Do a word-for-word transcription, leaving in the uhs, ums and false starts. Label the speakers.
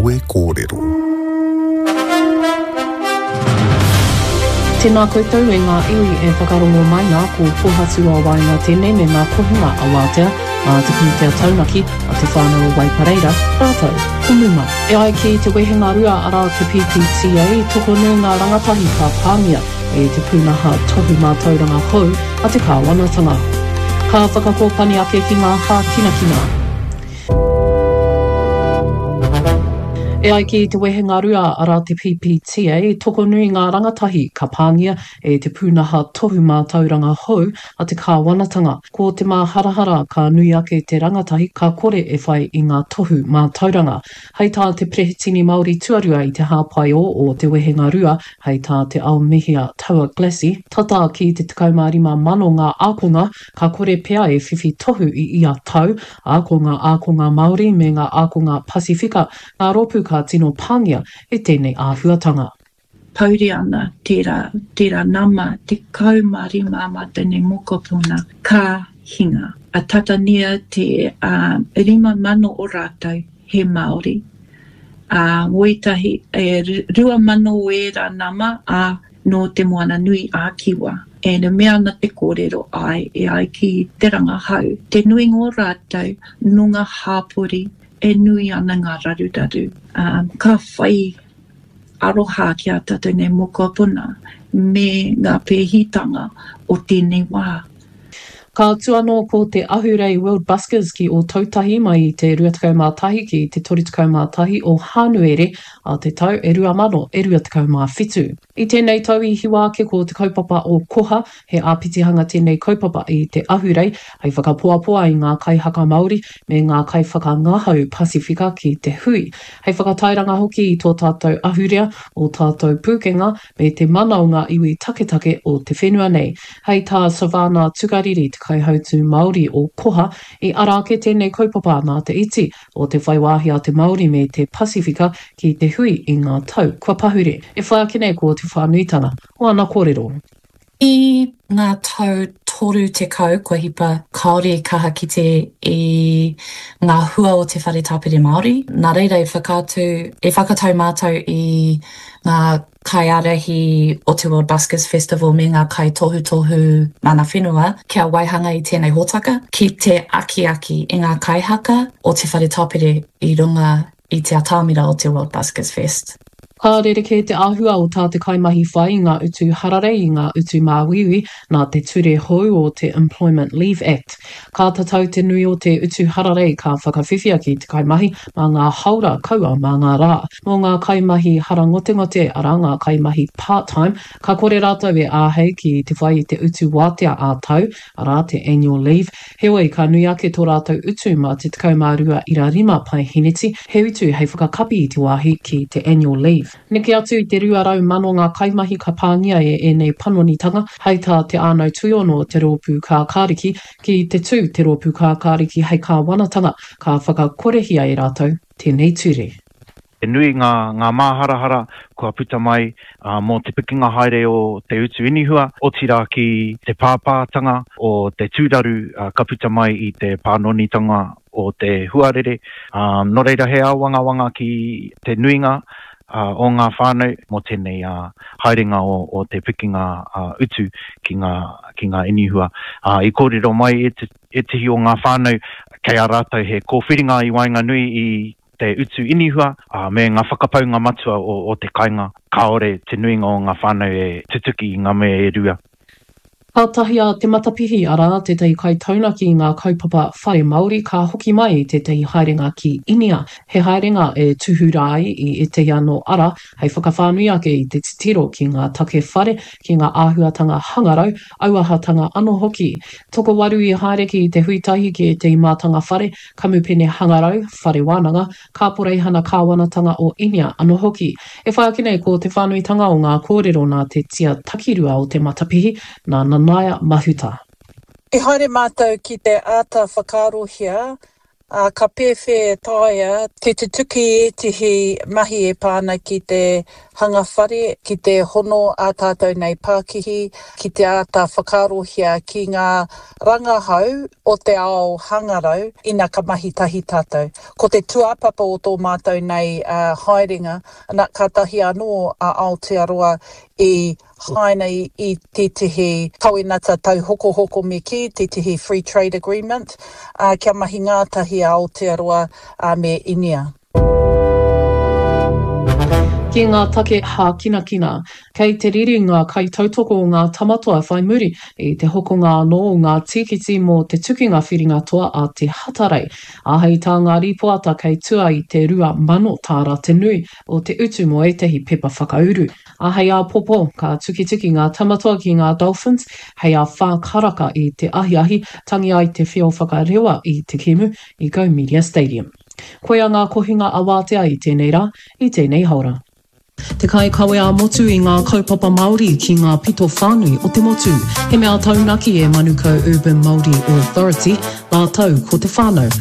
Speaker 1: Kawe Kōrero.
Speaker 2: Tēnā koutou e ngā iwi e whakarongo mai nā, ko Pōhatu a Waenga tēnei me ngā kohinga a Wātea, a te pūtea taunaki, a te whānau o Waipareira, rātou ko Muma. E ai ki te wehenga rua arā te P P T A, tokonui ngā rangatahi ka pāngia e te pūnaha tohu mātauranga hou a te kāwanatanga. Ka whakakōpani ake ki ngā hākinakina. E ai ki te wehenga rua arā te P P T A, tokonui ngā rangatahi ka pāngia e te pūnaha tohu mātauranga hou a te kāwanatanga. Ko te māharahara ka nui ake te rangatahi ka kore e whai i ngā tohu mātauranga. Hei tā te Perehitini Māori tuarua i te hāpai o o te wehenga rua, hei tā te Aomihia Taua Glassy, tata ki te tekau mā rima mano ngā ākonga ka kore pea e whiwhi tohu i ia tau, ā ko ngā ākonga Māori me ngā ākonga Pasifika, ngā rōpū ka tino pāngia e tēnei āhuatanga.
Speaker 3: Pauri ana tērā, tērā nama tekau mā rima mā tēnei mokopuna ka hinga. A tatania te, uh, rima mano o rātou he Māori. A wētahi, e, rua mano o ērā nama a nō te Moana Nui a Kiwa. E ne mea ana te kōrero ai e ai ki te rangahau. Te nuinga o rātou nō ngā hāpori e nui ana ngā raruraru. Um, ka whai aroha ki a tātou nei mokopuna me ngā pēhitanga o tēnei wā.
Speaker 2: Ka atu anō ko te Ahurei World Buskers ki Ōtautahi mai i te rua tekau mā tahi ki te toru tekau mā tahi o Hānuere a te tau e rua mano e rua tekau mā whitu. I tēnei tau i hiwa ake ko te kaupapa o Koha, he āpitihanga tēnei kaupapa i te Ahurei, hei whakapoapoa i ngā kaihaka Māori me ngā kaiwhakangahau Pasifika ki te hui. Hei whakatairanga hoki i tō tātou ahurea, o tātou pūkenga, me te mana o ngā iwi taketake o te whenua nei. Hei tā Savannah Tukariri, te kaihautu Māori o Koha, i ara ake tēnei kaupapa nā te iti o te whai wāhi a te Māori me te Pasifika ki te hui i ngā tau kua pahure. E whai ake nei ko te whānuitanga o ana kōrero.
Speaker 4: I ngā tau toru tekau kua hipa kāore i kaha ki te i ngā hua o te whare tāpere Māori. Nā reira e whakaatu, e whakatau mātou i ngā kaiārahi o te World Buskers Festival me ngā kaitohutohu mana whenua kia waihanga i tēnei hōtaka ki te akiaki i ngā kaihaka o te whare tāpere i runga i te atamira o te World Buskers Fest.
Speaker 2: Ka rerekē te āhua o tā te kaimahi whai i ngā utu hararei i ngā utu māuiui nā te ture hou o te Employment Leave Act. Ka tatau te nui o te utu hararei ka whakawhiwhia ki te kaimahi mā ngā haora kaua mā ngā rā. Mō ngā kaimahi harangotengote, arā ngā kaimahi part-time, ka kore rātou e āhei ki te whai i te utu wātea ā-tau, arā te annual leave. Heoi, ka nui ake tō rātou utu mā te tekau mā rua ira rima paeheneti, he utu hei whakakapi i te wāhi ki te annual leave. Neke atu i te rua rau mano ngā kaimahi ka pāngia e ēnei panonitanga, hei tā te ānau tuiono o te rōpū kākāriki, ki te tū te rōpū kākāriki hei kāwanatanga, ka whakakorehia e rātou tēnei ture.
Speaker 5: E nui ngā, ngā māharahara kua puta mai, uh, mō te pikinga haere o te utu inihua, otirā ki te pāpātanga o te tūraru, uh, ka puta mai i te pānonitanga o te huarere. Um, nō reira he āwangawanga ki te nuinga, uh, o ngā whānau mō tēnei, uh, haerenga o, o te pikinga, uh, utu ki ngā, ki ngā inihua. Uh, i kōrero mai e te, e tihi o ngā whānau kei a rātou he kōwhiringa i waenganui i te utu inihua, uh, me ngā whakapaunga matua o, o te kainga. Kāore te nuinga o ngā whānau e tutuki i ngā mea e rua.
Speaker 2: Ka tahi a Te Matapihi, arā, tētahi kaitaunaki i ngā kaupapa whare Māori, ka hoki mai i tētahi haerenga ki Inia. He haerenga e tūhura ai i ētahi anō ara, hei whakawhānui ake i te titiro ki ngā take whare, ki ngā āhuatanga hangarau, auahatanga anō hoki. Tokowaru i haere ki te huitahi ki ētahi mātanga whare, kamupene hangarau, whare wānanga, kāporeihana kāwanatanga o Inia anō hoki. E whai ake nei ko te whānuitanga o ngā kōrero nā te tia takirua o Te Matapihi, nā Nanaia Mahuta.
Speaker 6: I haere mātou ki te āta whakaarohia
Speaker 1: Ā, ka pēwhea e taea te tutuki ētehi mahi e pā ana ki te hanga whare, ki te hono ā tātou nei pākihi, ki te āta whakaarohia ki ngā rangahau o te ao hangarau ina ka mahi tahi tātou. Ko te tūāpapa o tō mātou nei haerenga, ana, kātahi anō a Aotearoa i haina i tētehi kawenata tauhokohoko me kī, tētehi free trade agreement, ā, kia mahi ngātahi a Aotearoa me Inia.
Speaker 2: Ki ngā take hākinakina, kei te riri ngā kaitautoko o ngā Tamatoa whai muri i te hokonga anō o ngā tīkiti mō te tukinga whiringa toa a te Hatarei, ā, hei tā ngā rīpoata kei tua i te rua mano tāra te nui o te utu mō ētahi pepa whakauru. Ā, hei āpōpō, ka tukituki ngā Tamatoa ki ngā Dolphins hei ā whā karaka i te ahiahi, tangi ai te whio whakarewa i te kēmu i Go Media Stadium. Koia ngā kohinga awātea i tēnei rā, i tēnei haora. Te kaikawe ā-motu i ngā kaupapa Māori ki ngā pito whānui o te motu. He mea taunaki e Manukau Urban Māori Authority, rātou ko te whānau.